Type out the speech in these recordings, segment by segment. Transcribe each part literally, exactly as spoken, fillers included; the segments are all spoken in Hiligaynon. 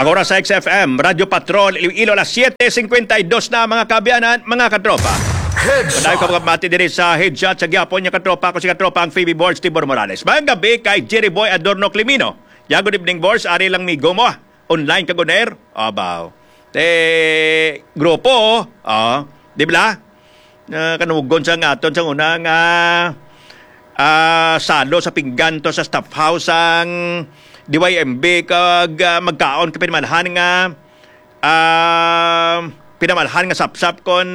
Ang oras sa X F M, Radyo Patrol, Iloilo, alas siyete cincuenta y dos na, mga kaabyanan, mga katropa. Headshot. Madayo ka mga mati diri sa Headshot sa gihapon, nga katropa ko si katropa ang Phoebe Borge Tibor Morales. Mayong gabi kay Jerry Boy Adorno Climino. Ya, good evening, Borge. Ari lang migo mo, ah. Online kag on air. Abaw. Te, grupo, ah, di ba? Ah, kanugon sa nga aton sa una nga, ah, salo sa pinggan to sa staff house ang D Y M B kag, ah, magkaon ka pinamalhan nga, ah, pinamalhan nga sapsap kon,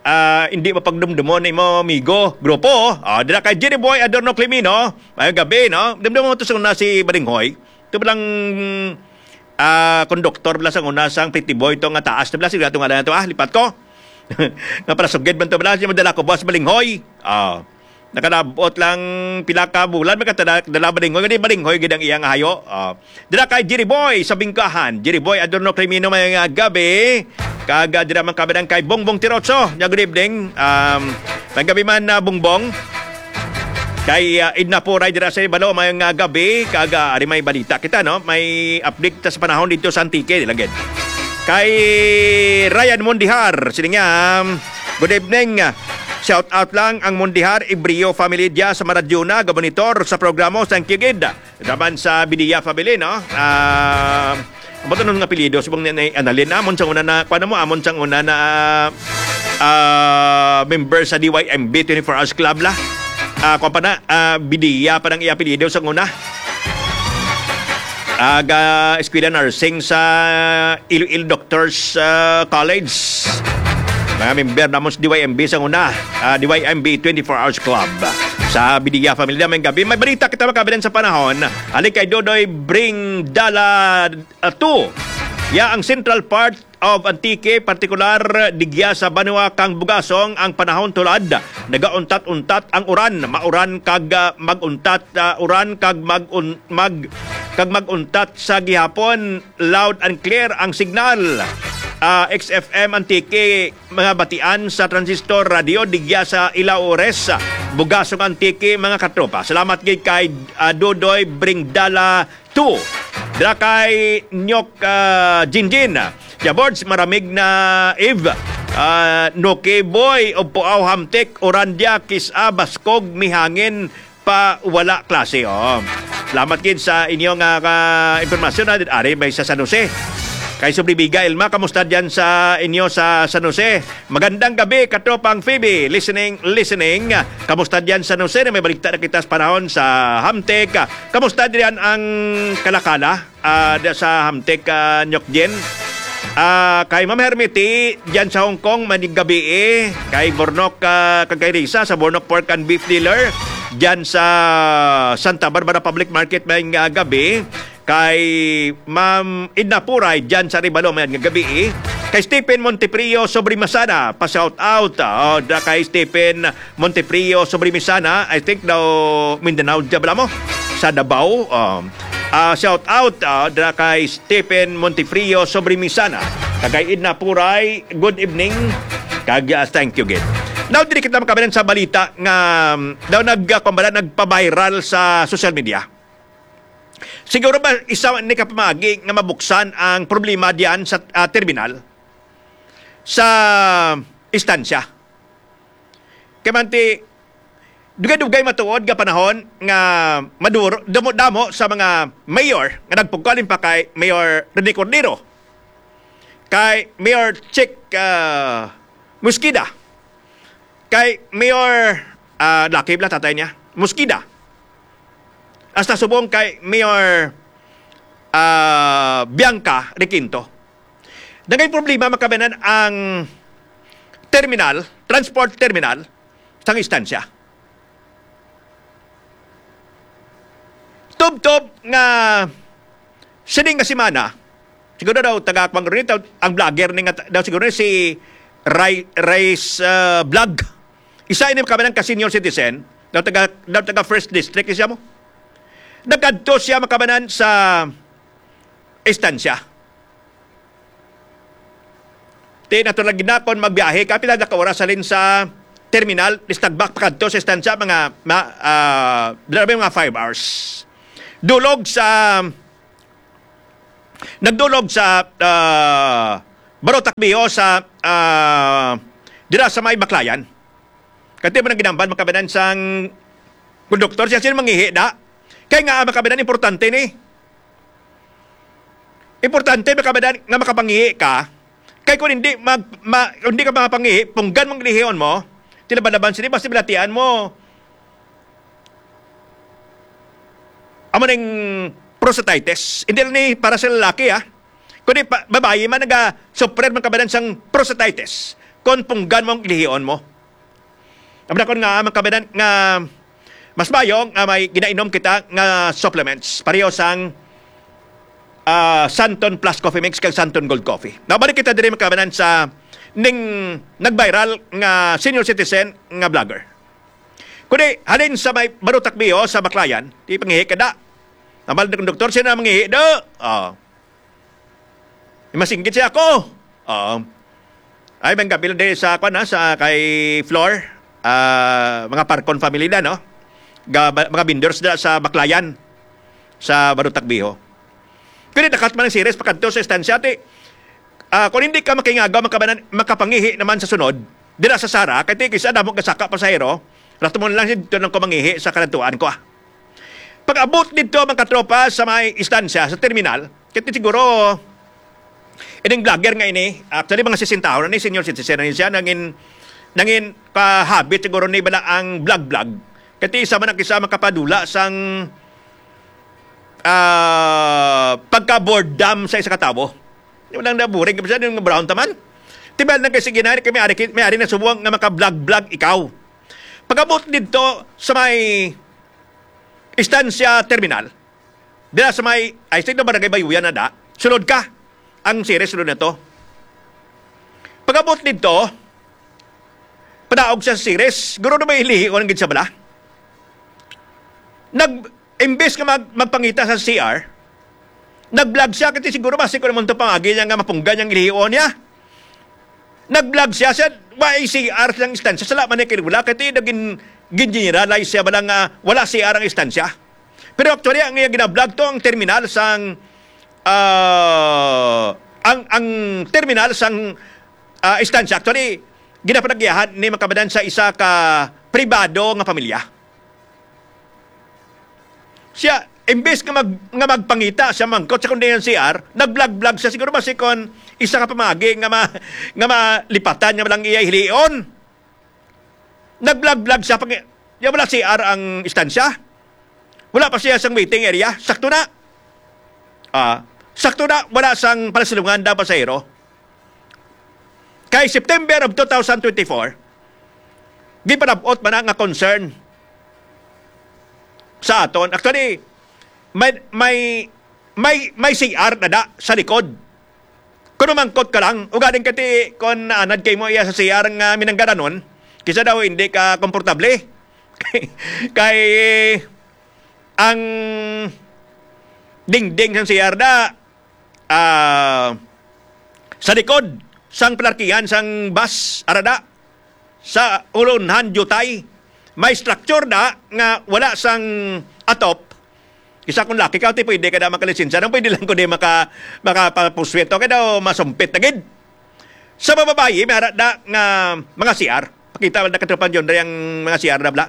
ah, hindi mapagdumdumon imo amigo, grupo. Ah, dira kay Jerry Boy Adorno Climino. Mayong gabi, no? Dumdumon to sa una si Balinghoy. Ito lang, ah, konduktor bala sang una sang Pretty Boy to nga taas na bala. Sige, ito nga lang ito, ah, lipat ko. Nga para sugid man to bala, siya madala ko, Boss Balinghoy. Ah, nakalabot lang pila ka bulan, magkatala, dala Balinghoy. Hindi Balinghoy, gid ang iyang hayo. Ah, dala kay Jerry Boy sa Bingkahan. Jerry Boy, Adorno Crimino, may nga gabi. Kag, ah, dira man kami ng kay Bongbong Tirotso. Nya, good evening. Um, may gabi man, ah, Bongbong. Kay, ah, Edna Puray dira sa Ibalo, may nga gabi, kag, ah, ari may balita kita, no? May update ta sa panahon dito sa Antique, di lang gid. Kay Ryan Mondihar, sini nga, um, good evening. Shout out lang ang Mondihar Ibrio family dia sa Maradyuna, gabonitor sa programa, thank you gid. Daban sa Bidia family, no? Ah, ang bato nga apelyido, subong ni, ni Annalyn, amon sang una na, kuwan mo, amon sang una na, ah, member sa D Y M B twenty-four Hours Club la. Ah, kuwan pa na, ah, Bidia pa nang iya apelyido sang una. Aga Eskwela Nursing sa Iloilo Doctors, ah, College. Mga member namon sa D Y M B sang una, ah, D Y M B twenty-four Hours Club. Sa Bidia family, may gabi. May balita kita makabilan sa panahon. Ali kay Dodoy Bring Dala, ah, two. Ya ang central part of Antique, partikular digya sa banwa kang Bugasong, ang panahon tulad nagauntat-untat ang uran, mauran kag, ah, mag-untat, ah, uran kag mag-un-, mag-, kag mag-untat sa gihapon, loud and clear ang signal. Ah, X F M Antique, mga batian sa transistor radio digya sa Ilaores, Bugasong, Antique, mga katropa. Salamat gid kay, ah, Dodoy Bringdala two. Dira kay Nyok, ah, Jinjin. Ya, Bords, maramig na Eve. Ah, Noki Boy, Opuaw, Hamtik, Orandia, Kis-a, Baskog, Mihangin, pa wala klase, oh. Salamat gid sa inyo nga, ka impormasyon, ha. Ari may sa San Jose. Kay Sublibiga Elma, kamusta diyan sa inyo sa San Jose? Magandang gabi, katropang Phoebe. Listening, listening. Kamusta diyan sa San Jose? May balikta na kita sa panahon sa Hamtec. Kamusta diyan ang Kalakala? Ah, diya sa Hamtec, ah, Nyok Jen. Ah, kay Ma'am Hermity, diyan sa Hong Kong, manig gabi eh. Kay Bornok, ah, kag kay Risa, sa Bornok Pork and Beef Dealer, diyan sa Santa Barbara Public Market, may nga gabi. Kay Ma'am Edna Puray, diyan sa Ribalo, may nga gabi eh. Kay Stephen Monteprio, Sobrimasana, pa shout out. Oh, da kay Stephen Monteprio Sobrimisana, I think daw Mindanao, diya bala mo? Sa Davao. Um, ah, shout out, ah, dira kay Stephen Monteprio Sobrimisana. Kag kay Edna Puray, good evening. Kag, ah, thank you gid. Now, diri kita makabilan sa balita nga, um, daw nag, ah, kuwan bala, nagpa-viral sa social media. Siguro ba isa ni ka pamagi nga mabuksan ang problema diyan sa, ah, terminal sa istansya? Kay manti, dugay-dugay matuod nga panahon nga maduro, damo-damo sa mga mayor nga nagpugkalin pa kay Mayor Rene Cordero, kay Mayor Chick, ah, Mosqueda, kay Mayor, ah, laki bala tatay niya, Mosqueda, hasta subong kay Mayor, ah, Bianca Requinto. Nagay problema makabanan ang terminal, transport terminal, sang istansya. Tubtob nga sining nga semana, siguro daw taga Kuan Rin, ang vlogger ni nga ta-, daw siguro si Ray, Ray's, uh, Vlog. Isa ini makabanan ka senior citizen, daw taga, daw taga First District siya mo. Nagkadto siya makabanan sa istansya. Ti natural gid na kon magbiyahe ka, pila na ka oras halin sa terminal, Listagbak pakadto sa istansya, mga, ma-, ah, grabe, mga five hours. Dulog sa Nagdulog sa, ah, Barotac Viejo sa, ah, dira sa may Baclayan. Kati mo nang ginamban, mga kabanan, sang konduktor, siya sino mangihi da. Kay nga, mga kabanan, importante ni. Importante, mga kabanan, nga makapangihi ka. Kay kung hindi mag-, ma-, kung hindi ka makapangihi, punggan mong lihon mo, tilaban-laban sini, basta bilatian mo. Amo ning prostatitis. Hindi lang ni para sa lalaki, ah. Kundi pa, babayi man naga-suffer man kabanan sang prostatitis. Kung punggan mo ang ilihion mo. Ang nakon nga, mga kabanan, nga mas mayo nga may ginainom kita nga supplements. Pareho sang, ah, Santon Plus Coffee Mix kag Santon Gold Coffee. Nabalik kita diri, mga kabanan, sa ning nag-viral nga senior citizen nga vlogger. Kundi, halin sa may Barotac Viejo sa Baclayan, di pangihi ka da. Namal na kong doktor, sino na mangihi do? Oh. Masinggit siya ako. Oo. Ay, may gabi lang din sa, kwan, ha, sa kay Flor, ah, mga Parcon family na, no? Ga-, ba-, mga vendors na sa Baclayan, sa Barotac Viejo. Kaya nakat man ang series, pakadto sa estansya, ti, ah, kung hindi ka makingagaw, makabanan-, makapangihi naman sa sunod, dira sa Sara, kay ti, kisa damo ka saka pasahero, rato mo lang dito lang ko mangihi sa kalantuan ko, ah. Pag-abot dito, mga katropa, sa may estansya, sa terminal, kaya ti siguro, ining vlogger nga ini, actually, mga sesenta na ni, senior citizen na ni siya, nangin, nangin kahabit siguro ni bala ang vlog-vlog. Kaya ti isa man ang isa makapadula sang, ah, pagka-boredom sa isa ka tawo. Yung lang naburing, kasi yung brown taman. Tibal na kasi ginari, kami ari, may ari na subuang nga maka-vlog-vlog ikaw. Pag-abot dito sa may Estancia Terminal, dira sa may, I think, na Barangay Bayuyan na da, sulod ka. Ang series, sulod na to. Pag-abot dito, padaog siya sa series, guro na may lihion ang gid sa bala. Nag, imbes nga mag, magpangita sa C R, nag-vlog siya, kasi siguro basi ko naman to pangagi niya nga mapunggan niyang lihion niya. Nag-vlog siya, siya, wa ay C R silang istansya. Sala man ni kay wala, kay ti nagin-, gin-generalize siya, bala nga wala C R ang istansya. Pero actually, ang iya gina-vlog to, ang terminal sang, ah, ang, ang terminal sang, ah, istansya. Actually, ginapanagyahan ni makabanan sa isa ka pribado nga pamilya. Siya, imbes nga mag-, nga magpangita siya mangkot sa kundi ang C R, nag-vlog-vlog siya. Siguro basi kon isa ka pamagi nga ma-, nga malipatan niya lang iya hilion. Nag-vlog-vlog siya pag, ya, wala C R ang istansya. Wala pa siya sa waiting area. Sakto na. Ah, sakto na, wala sang palasilungan da pasahero. Kay September of two thousand twenty-four, gipanabot man na nga concern sa aton. Actually, may, may, may, may C R na da sa likod. Kung mangkot ka lang, ugaling ka ti, kung naanad kay mo iya sa C R nga minanggaranon, kisa daw hindi ka komportable. Kay ang dingding sang C R da, ah, sa likod sang parkingan sang bus, arada, sa ulunhan, diutay. May structure da nga wala sang atop. Isa kung laki ka, ti pwede ka na makalisensya. Nang pwede lang ko di maka-, makapapuswito. Kaya daw masumpit na gid. Sa mga babayi, may ara da nga mga C R. Pakita man na katropang John Ray ang mga C R na bla.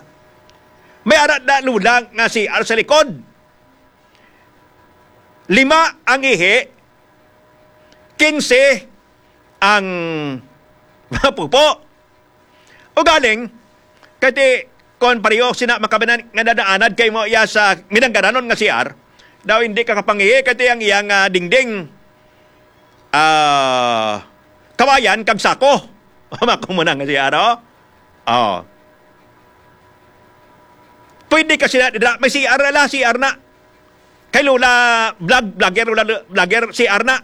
May ara da lula nga C R sa likod. Lima ang ihi, kinse ang pupo. Ugaling, kay ti, kon pareho sina makabanan nga nadaanad kay mo iya sa minanggaranon nga C R, daw hindi ka kapangihi, kay ti ang iyang, ah, dingding, ah, kawayan kag sako. Mako mo na nga C R, oh. Oh. Pwede ka sila, dira, may C R na, C R na. Kay Lola, vlog, vlogger, Lola, vlogger, C R na.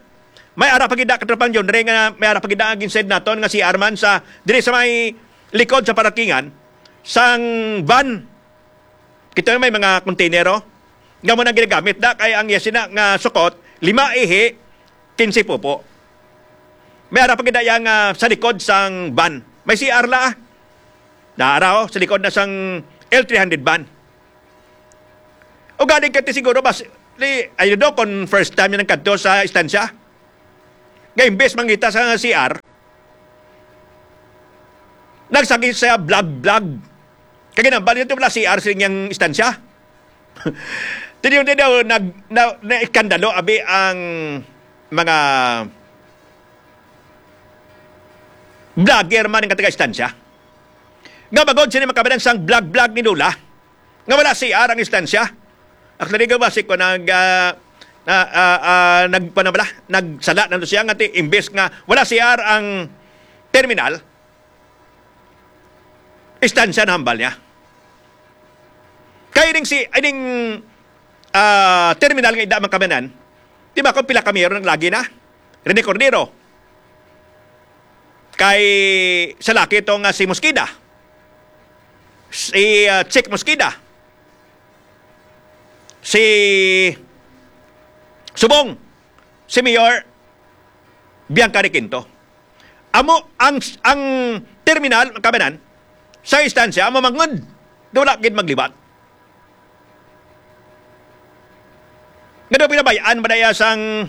May ara pa gid na, katropang John Ray, nga may ara pa gid na ang ginsend naton nga C R man sa, diri sa may likod sa parkingan, sang van. Kita may mga container, oh. Nga mo nang ginagamit na, kay ang iya sina nga sukot, lima ihi, kinse pupo. May ara pa gid na iya nga sa likod sang van. May C R la, ah. Naara, oh, sa likod na sang L three hundred van. O galing ka ti siguro, bas, Di, I don't know kung first time niya nagkadto sa istansya. Nga imbes mangita sa C R, nagsagi siya vlog-vlog. Kag ginambal niya, wala C R sa inyang istansya. Tiniyo, tiniyo, nag, na, naiskandalo, abi, ang mga vlogger man nga taga-istansya. Nga bangod sini makabanan sang vlog-vlog ni Lola, nga wala C R ang istansya. Actually, gabasi ko nag, ah, na, ah, ah, nag, paano bala? Nagsala na siya nga ti, imbes nga wala C R ang terminal, istansya na hambal niya. Kay ning si, ay ning, ah, terminal nga ida man kamanan, di ba kung pila ka mayor nang lagi na? Rene Cordero. Kay sa laki to nga si Mosqueda. Si, ah, Chick Mosqueda. Si Subong. Si Mayor Bianca Requinto. Amo ang, ang terminal, ang kamanan, sa istansya, amo mangod. Daw wala gid maglibat. Nga daw pinabayaan ba na iya sang,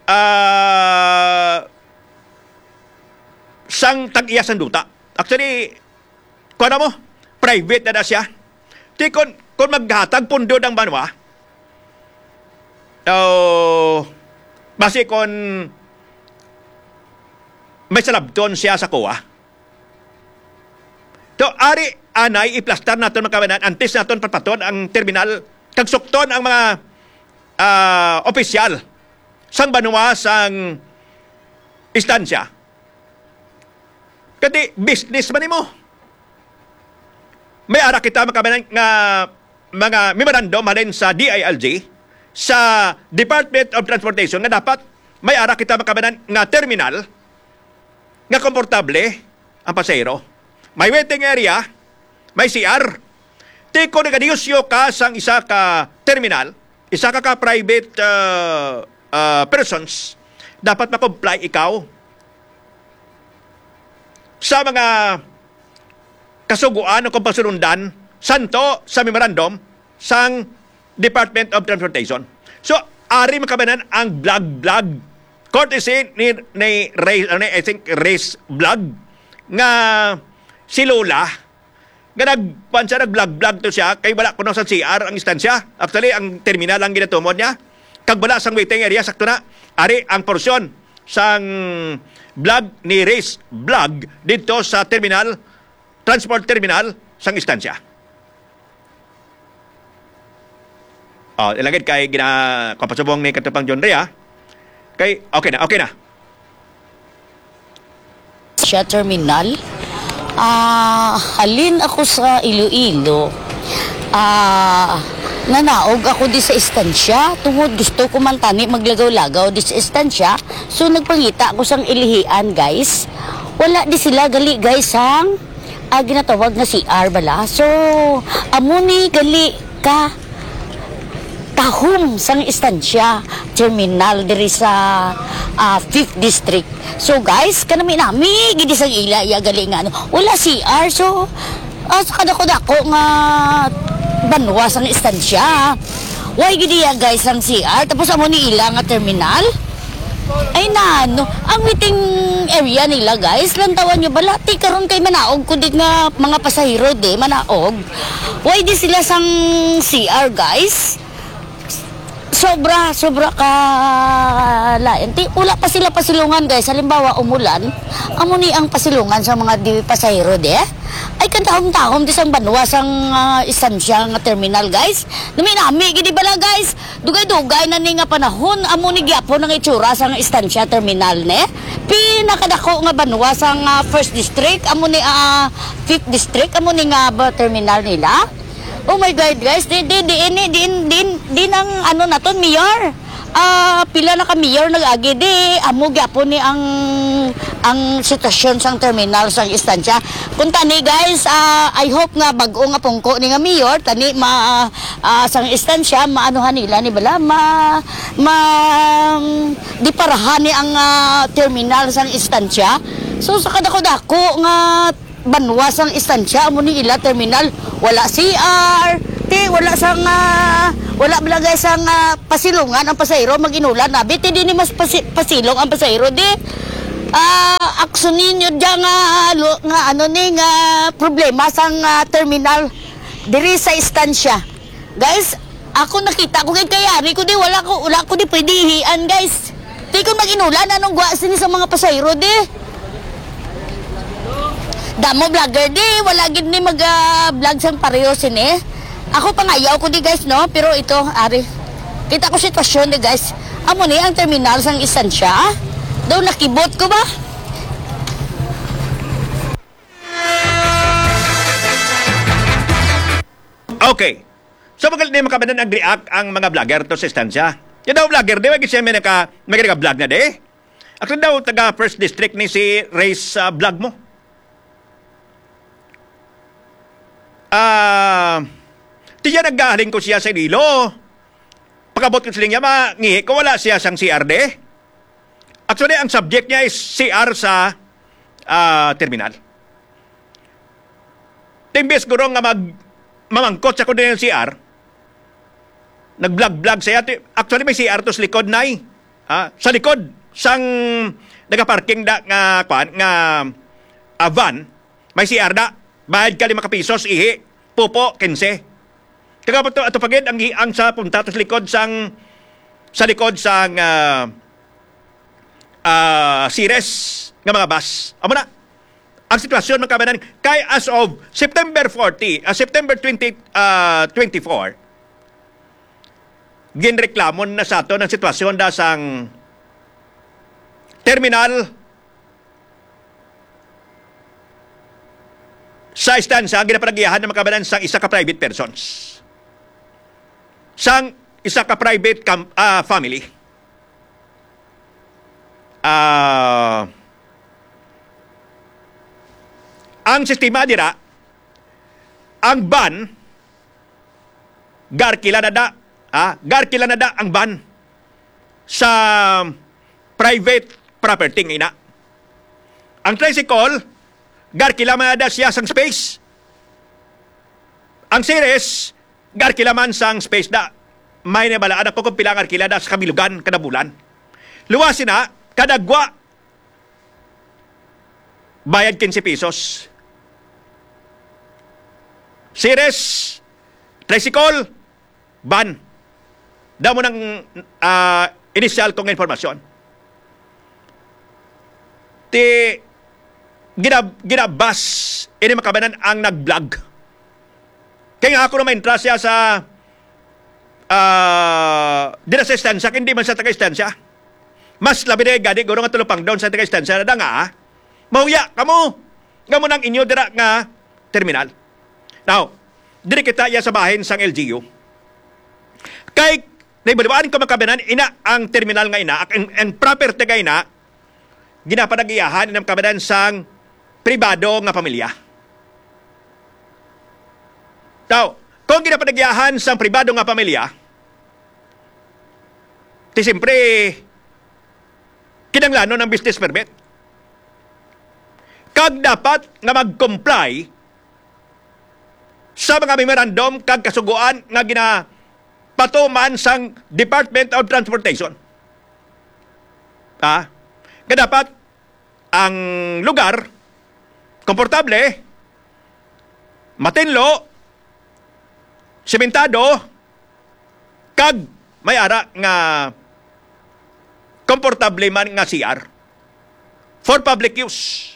ah, sang tag-iya sang duta? Actually, kuwan mo, private na na siya. Di kon, kon maghatag pundo ang banwa, o, basi kon may salabton siya sa kuwa. So, ari, anay, iplastar naton, mga kabanan, antes naton patpaton ang terminal, kag sukton ang mga, ah, opisyal sang banwa sang istansya. Kati, business man nimo. May ara kita, mga kabanan, nga mga memorandum halin sa D I L G, sa Department of Transportation, nga dapat may ara kita, mga kabanan, nga terminal nga komportable ang pasahero. May waiting area, may C R. Ti kon naganegosyo ka sang isa ka terminal, isa ka, ka private, ah, ah, persons, dapat ma-comply ikaw sa mga kasugoan o kung pasulundan santo sa memorandum sang Department of Transportation. So, ari, mga kabanan, ang vlog-vlog. Courtesy ni, ni Ray, ano, I think, Ray's Vlog, nga si Lola, nga nag-, kuwan siya, nag-vlog-vlog to siya, kay wala kuno sa C R ang istansya. Actually, ang terminal ang ginatumod niya. Kag wala sang waiting area, sakto na. Ari ang porsyon sang vlog ni Ray's Vlog dito sa terminal, transport terminal sang istansya. Oh, ilagid kay gina-, kapasubong ni Katupang John Ray, ah. Kay, okay na, okay na. Siya terminal. Ah, halin ako sa Iloilo. Ah, nanaog ako di sa istansya tungod gusto ko man tani maglagaw-lagaw di sa istansya. So, nagpangita ako sang ilihian, guys. Wala di sila gali, guys, sang, ah, ginatawag nga C R bala. So, amo ni gali ka tahom sang istansya terminal diri sa, ah, Fifth District. So, guys, kanami-nami gid sang ila iya gali nga ano, wala C R. So, ah, sa kadako-dako nga banwa sang istansya, why gid iya, guys, ang C R? Tapos amo ni ila nga terminal? Ay, nano, ang waiting area nila, guys, lantawan nyo bala. Ti karon kay manaog ko di nga mga pasahero di, manaog. Why di sila sang C R, guys? Sobra, sobra ka lain. Ti, wala pa sila pasilungan, guys. Halimbawa, umulan, amo ni ang pasilungan sa mga di pasahero di. Ay, kantahom-tahom di sang banwa sang, ah, istansya nga terminal, guys. Nami-nami gid di bala, guys. Dugay-dugay na ni nga panahon, amo ni gyapon ang itsura sang istansya terminal, ne? Pinakadako nga banwa sang, ah, First District, amo ni, ah, Fifth District, amo ni nga ba terminal nila. Oh my God, guys, di, di, di, ini, di, di, di nang ano naton, Mayor. Ah, pila na ka mayor nag-agi, di, amo gyapon ni ang, ang sitwasyon sang terminal sang istansya. Kung tani, guys, ah, I hope nga bag-o nga pungko ni nga mayor, tani ma, ah, sang istansya, maanuhan nila ni bala, ma, ma, di parahan ni ang, ah, terminal sang istansya. So, sa kadako-dako nga banwa sang istansya, amo ni ila terminal, wala C R, Di, wala sang, ah, wala bala, guys, ang, ah, pasilungan ang pasahero, mag-inulan na. Biti, di ni mas pasi-, pasilong ang pasahero, di. Ah, aksyon ninyo dyan nga, lo-, nga ano ni, nga problema sang, ah, terminal diri sa Estancia. Guys, ako nakita ko kay kayari ko, di, wala ko, wala ko di pwede ihian, guys. Di ko mag-inulan, anong gwa sini sa mga pasahero, di? Damo vlogger, di, wala gid ni mag, ah, vlog sang pareho sini. Ako pangayaw ko di, guys, no? Pero ito, ari. Kita ko sitwasyon di, guys. Amo ni ang terminal sang Estancia. Daw nakibot ko ba? Okay. So, magal-, di makabanan ang react ang mga vlogger to sa Estancia. Yung daw vlogger, di ba, kasi may naka-, may naka-vlog na di? Ako daw, taga First District ni si Reyes, ah, vlog mo. Ah, tiyan naggaling ko siya sa Iloilo. Pagabot ko sa linya, mangihi ko, wala siya sang C R D. Actually, ang subject niya is C R sa, ah, terminal. Imbes guro nga mag-, mamangkot sa kuno yung C R, nag-vlog-vlog siya. Ti-, actually, may C R to sa likod, nay. Ha? Sa likod, sang nagaparking da nga, kwan, nga, ah, van, may C R da. Bayad ka lima ka pisos, ihi. Pupo, kinse. Kagapat to, ato pagid, ang, ang sa punta to sa likod sang, sa likod sang, ah, ah, Ceres nga mga bus. Amo na. Ang sitwasyon, mga kabanan, kay as of September forty, ah, September twenty, ah, twenty-four, ginreklamo na sa aton ang sitwasyon da sang terminal sa Estancia, ang ginapanagiyahan ng mga kabanan sang isa ka private persons. Sang isa ka private com-, ah, family. Ah, ang sistema dira, ang van, garkila na da, ah, garkila na da ang van sa private property nga ina. Ang tricycle, garkila man na da siya sang space. Ang Ceres, garkila man sang space da. May nabalaan ako kung pila ang arkila da sa kabilugan kada bulan. Luwas sina, kada gwa, bayad quince pesos. Ceres, tricycle, van. Damo ng, ah, initial kong informasyon. Ti, ginab-, ginabas, ini makabanan ang nag-vlog. Kaya nga ako na ma-entra siya sa, ah, dira sa Estancia, hindi man sa taga-Estancia. Mas labi na gani, guro nga tulupang doon sa taga-Estancia na da nga, ah. Mahuya kamo. Nga mo nang inyo dira nga terminal. Now, diri kita iya sa bahin sang L G U. Kay, naibaliwaan ko makabanan, ina ang terminal nga ina, ang, ang property nga ina, ginapanag-iyahan, ina makabanan sang pribado nga pamilya. Now, kung ginapanag-iyahan sang pribado nga pamilya, ti siyempre, kinanglanon ang business permit. Kag dapat nga mag-comply sa mga memorandum kag kasugoan nga ginapatuman sang Department of Transportation. Ha? Nga dapat ang lugar komportable, matinlo, sementado, kag may ara nga komportable man nga C R for public use.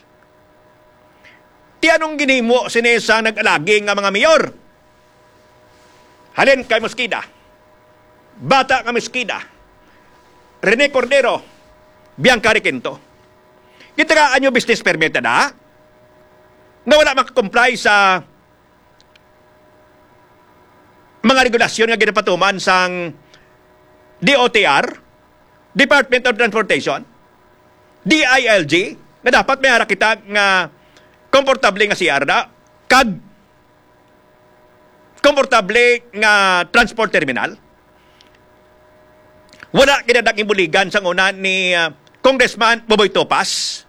Ti anong ginhimo sini sa nag-alagi nga mga mayor? Halin kay Mosqueda, bata nga Mosqueda, Rene Cordero, Bianca Requinto. Kita ka anyo business permit na nga wala makakomply sa mga regulasyon nga ginapatuman sang D O T R, Department of Transportation, D I L G, nga dapat may ara kita nga komportable nga C R na, kag komportable nga transport terminal. Wala gid ang imbuligan sang una ni, ah, Congressman Boboy Topas.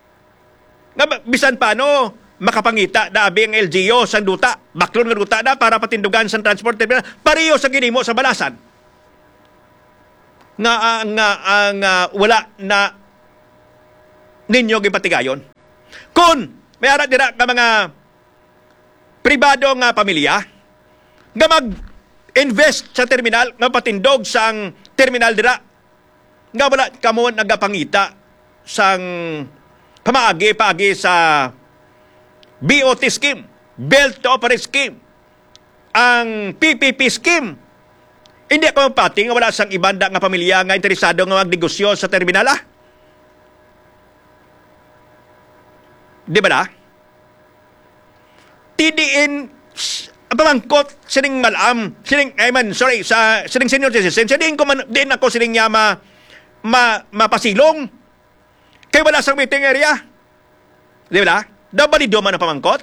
Nga ba, bisan paano, makapangita na abi ang L G U sang duta, baklon nga duta na para patindugan sang transport terminal, pareho sa ginimo sa Balasan. Nga, ah, nga, ah, nga wala na ninyo gipatigayon. Kon may ara dira nga mga pribado nga pamilya nga mag-invest sa terminal, nga patindog sang terminal dira, nga wala kamo nagapangita sang pamaagi, paagi sa B O T scheme, Build to Operate scheme, ang P P P scheme. Hindi ako mapati nga wala sang iban da nga pamilya nga interesado nga magnegosyo sa terminal, ah. Di ba na? T D N, s-, pamangkot sining malam, sining, I mean, sorry, sa sining senior citizen, siya diin ko man, diin ako sining niya ma-, ma-, mapasilong. Kay wala sang meeting area. Di ba? Daw balido man ang pamangkot.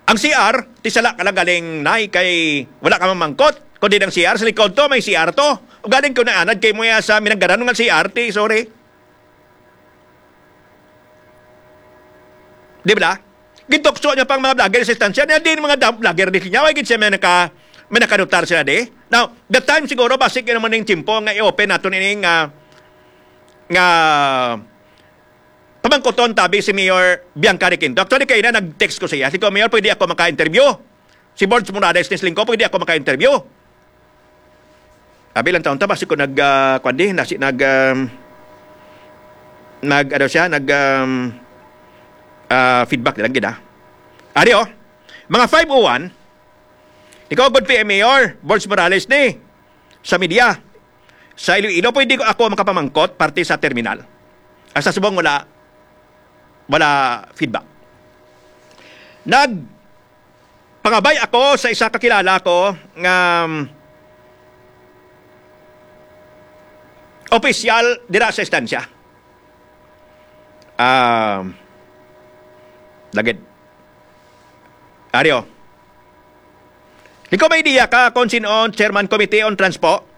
Ang C R, ti sala ka lang galing, nay, kay wala ka mamangkot. Kundi ang C R, sa likod to, may C R to. O galing ko naanad kay mo ya sa minanggaran nga C R, ti, sorry. Di ba? Gitukso niya pang mga vlogger sa istansya. Niya din mga da-, vlogger di niya. Ay, gid siya may naka-, may nakanutar sila di. Now, the time siguro, basic yun naman yung tiyempo nga i-open nato nining, ah, nga pamangkoton tabi si Mayor Bianca Requinto. Actually, kayo na nag-text ko siya. Sige ko, "Mayor, pwede ako maka-interview?" Si Borge Morales ni Slingko, pwede ako maka-interview? Abi lang taon ta, basi ko nag, ah, kwan di, nasi, nag, um, nag, ano siya, nag, um, ah, feedback lang gid, ah. Ari, oh, mga five oh one, ikaw, good P M Mayor, Borge Morales ni, sa media. Sa Iloilo, pwede ko ako makapamangkot parte sa terminal. Ang sa subong wala, wala feedback. Nagpangabay ako sa isa ka kilala ko nga, um, opisyal dira sa estansya. Ah, lagid. Ario. Ikaw may idea ka kung sino ang chairman committee on transpo?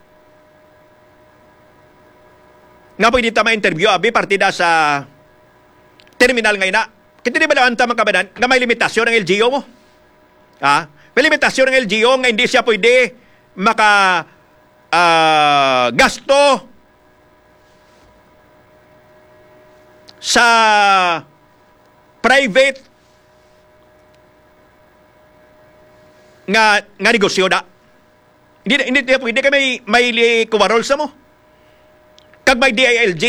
Nga pwede ta ma-interview, abi, partida sa terminal nga ina. Kita di ba naman ta, mga kabanan, nga may limitasyon ang L G U mo? Ha? May limitasyon ang L G U nga hindi siya pwede maka, ah, gasto sa private nga, nga negosyo da. Hindi, hindi, hindi pwede kay may, may li-, kuwarol sa mo. Kag may D I L G,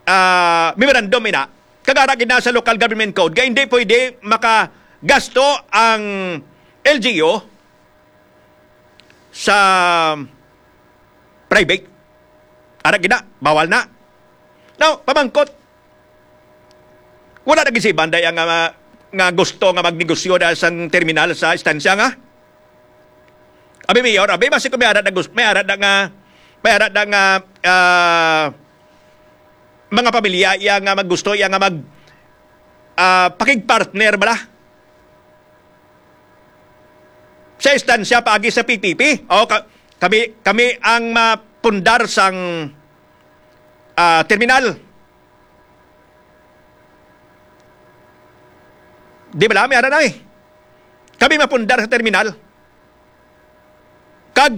ah, memorandum ina. Kag ara gid na sa local government code, kay hindi pwede makagasto ang L G U sa private. Ara gid na, bawal na. Now, pamangkot, wala na gid si Banday ang, ah, nga gusto nga magnegosyo dahil sang terminal sa istansya nga? Abi, Mayor, abi, basi ko may ara na gus-, may ara na nga, may ara na nga, ah, mga pamilya iya nga maggusto iya nga mag, ah, pakigpartner bala sa istansya paagi sa P P P. O, ka-, kami, kami ang mapundar sang, ah, terminal. Di bala, may ara na eh. Kami mapundar sa terminal. Kag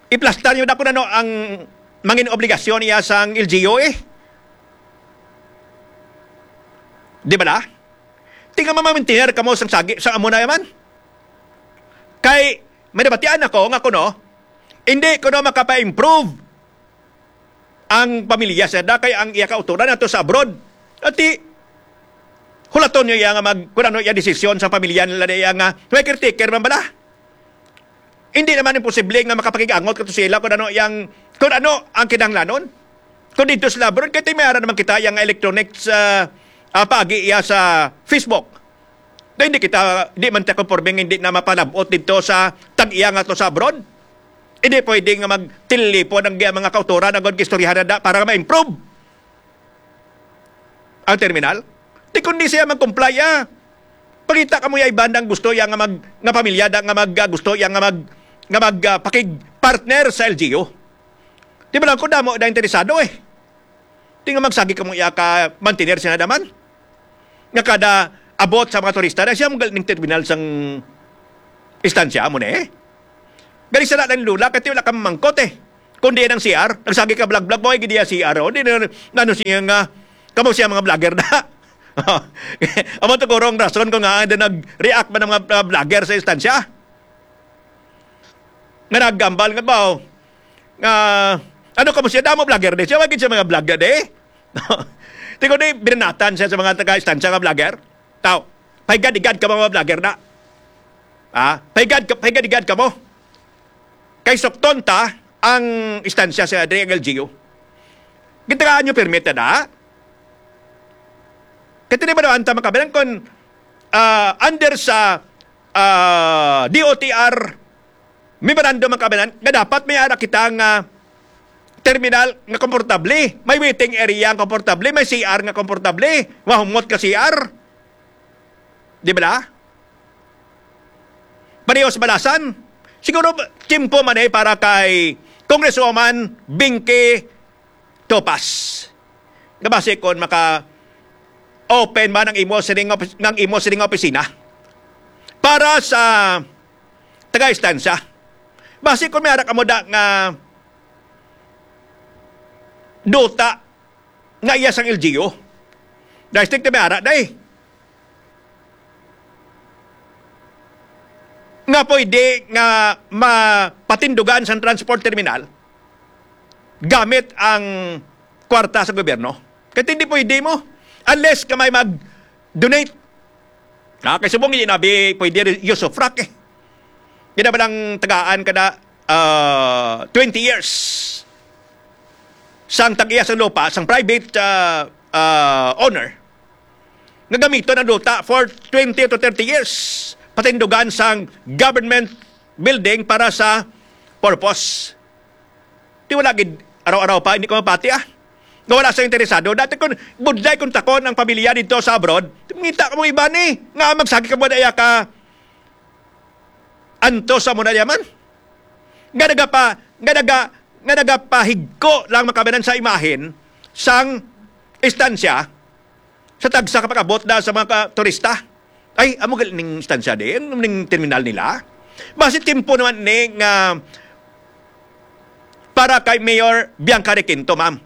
iplastar niyo na kung ano ang mangin obligasyon niya sang L G U eh. Di bala? Tinga mamamintinar kamo sang sagi, sa amo na yaman. Kay, may nabatian ako nga kuno, hindi kuno makapa-improve ang pamilya sa da kay ang iya kauturan ato sa abroad. Ati, hulaton niyo iya nga mag-, kung ano iya desisyon sa pamilya nila na iya nga may caretaker man bala. Hindi naman imposible nga makapakig-angot kato sila kung ano yang, kung ano ang kinahanglanon. Kung dito sila abroad, kay may ara naman kita yang electronics, ah, ah, paagi iya sa Facebook. Na hindi kita, di man ta konforme nga hindi na mapalabot dito sa tag-iya nga to sa abroad. Hindi pwede nga magtilipon ang mga kautoran ang istoryahan na da para ma-improve ang terminal. Di kundi siya mag-comply, ah. Pangita ka mo ya iban ang gusto ya nga mag, nga pamilya da nga mag, ah, gusto ya nga mag, nga mag, ah, pakig-partner sa L G U. Di ba lang ko damo na interesado eh. Di nga magsagi kamo iya ka mantener siya na daman. Nga kada abot sa mga turista na siya, mga ning terminal sang istansya mo na eh. Gali sa lang lula, kasi wala ka mamangkot eh. Kundi ang C R, nagsagi ka vlog-vlog mo, ay gidiya C R, oh. Di na, ano siya nga, kamo siya mga vlogger na. Amo to kurong rason ko nga, ando nag-react man ang mga uh, vlogger sa istansya. Nga nagambal nga ba, oh. Nga, ano kamo siya, damo vlogger di siya, wagid siya mga vlogger di. Tigo di, binanatan siya sa mga taga-istansya nga vlogger. Tao, paigad-igad ka mga vlogger na. Ha? Paigad, ka- paigad-igad ka mo. Kay sukton ta ang istansya sa diri ang L G U. Gitagaan nyo permit na da. Kaya tini ba daw ang tama kabilang kung ah, under sa ah, D O T R memorandum ang kabilang nga dapat may ara kita nga terminal nga komportable, may waiting area nga komportable, may C R nga komportable, mahumot ka C R. Di ba? Pareho sa Balasan. Siguro, tiyempo man eh para kay Congresswoman Binky Topas. Nga basi kon maka-open man ang imo sining opis-, ang imo sining opisina para sa taga-istansya. Basi kon may ara kamo da nga duta nga iya sang L G U. District na may ara, day. Nga pwede nga mapatindugan sa transport terminal gamit ang kwarta sa gobyerno. Kaya hindi pwede mo unless ka may mag-donate. Ah, kay subong hindi nabi pwede rin use of rack eh. Hindi naman ang tagaan ka na ah, twenty years sang tag-iya sang lupa, sang private ah, ah, owner, nga gamiton ang duta for twenty to thirty years, patindugan sang government building para sa purpose. Di wala gid, araw-araw pa, hindi ko mapati ah. Nga wala sa interesado. Dati kung budlay kung takon ang pamilya dito sa abroad, ngita ka mo iba ni, nga magsagi ka mo daya ka anto sa mo na yaman. Nga nagapa, nga naga, nga nagapahigko lang makabanan sa imahen sang istansya sa tagsa ka pag-abot na sa mga ka-, turista. Ay, amo gali ning istansya din, ning terminal nila. Basi timpo naman ni nga para kay Mayor Bianca Requinto, ma'am,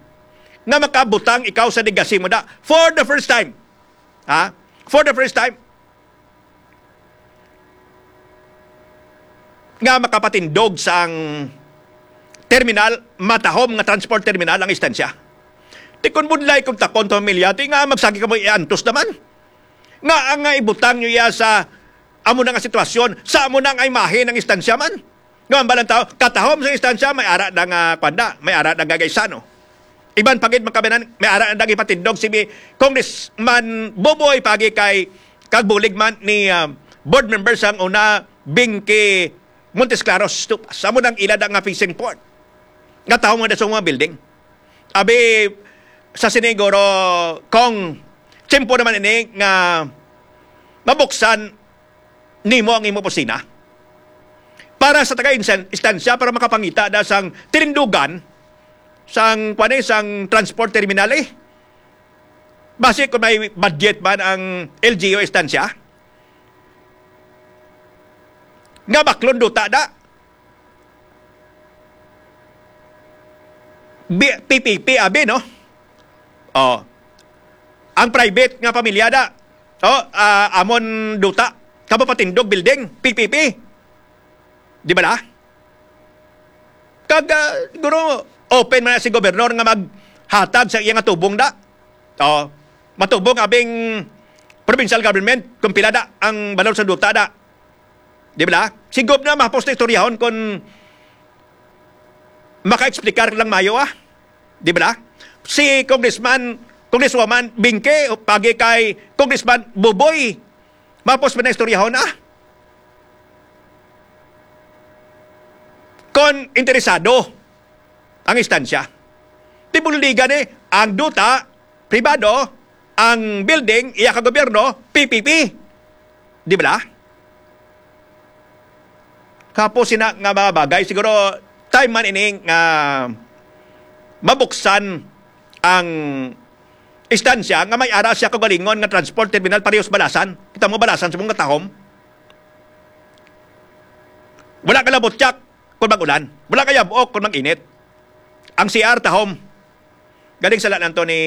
nga makabutang ikaw sa legacy mo da for the first time. Ha? For the first time. Nga makapatindog sang terminal, matahom nga transport terminal ang istansya. Ti kun budlay kung takon to pamilya, ti nga magsagi ka mo iantos naman. Nga ang nga ibutang nyo iya sa amo na nga sitwasyon, sa amo na nga imahe ng istansya man. Nga ang balang tao, katahom sa istansya, may ara na nga kwanda, may ara na nga gaisano. Iban pa gid makabinan, may ara na gipatindog si Congressman Boboy pagi kay kagbulig man ni ah, board member sang una, Binky Montes Claros. Tu-, sa mo nang ila da nga fishing port. Nga tawo nga da sa mga building. Abi sa siniguro kung tiyempo naman ini nga mabuksan nimo ang imo opisina para sa taga insan-, istansya para makapangita da sang tinindugan sang, kuwan eh, sang transport terminal eh. Basi kung may budget man ang L G U istansya, nga baklon duta da. Bi-, P P P, abi, no? Oh. Ang private nga pamilya da. Oh, ah, amon duta. Kamo patindog building, P P P. Di ba na? Kag, ah, siguro, open man na si gobernador nga maghatag sa iya nga tubong da. Oh, matubong abing provincial government kung pila da ang balor sa duta da. Di ba? Si Gob na mapos na istoryahon kung maka-explicar lang mayo, ah. Di ba? Si Congressman, Congresswoman Binke, pagi kay Congressman Buboy, mapos pa na istoryahon, ah. Kon interesado ang istansya. Di buligan eh, ang duta, pribado, ang building, iya ka gobyerno, P P P. Di ba? Kapo sina nga mga bagay, siguro time man ini nga mabuksan ang istansya nga may ara siya kaugalingon nga transport terminal parehas Balasan. Kita mo Balasan sa mga tahom. Wala ka labot siya kung mag-ulan. Wala ka yabok kung mag-init. Ang C R tahom. Galing sala nanto ni